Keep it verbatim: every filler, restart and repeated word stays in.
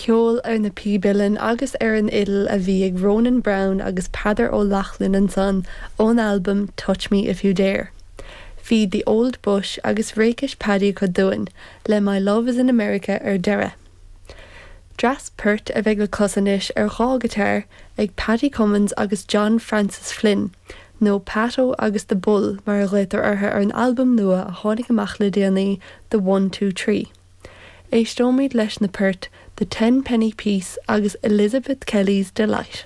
Ceol ar na píb uilleann agus ar an fhidil a bhí ag Ronan Browne agus Peadar Ó Lochlainn ansan ón albam Touch Me If You Dare. Bhí The Old Bush agus Réicis Paddy acu dúinn le My Love is in America ar deireadh. Dreas poirt a bheidh le clos anois ar dhá ghiotár ag Paddy Cummins agus John Francis Flynn, nó Pato agus The Bull mar a ghlaotar orthu ar an albam nua a tháinig amach le déanaí The One Two Three. Éisteoimid leis na poirt The Ten Penny Piece agus Elizabeth Kelly's Delight.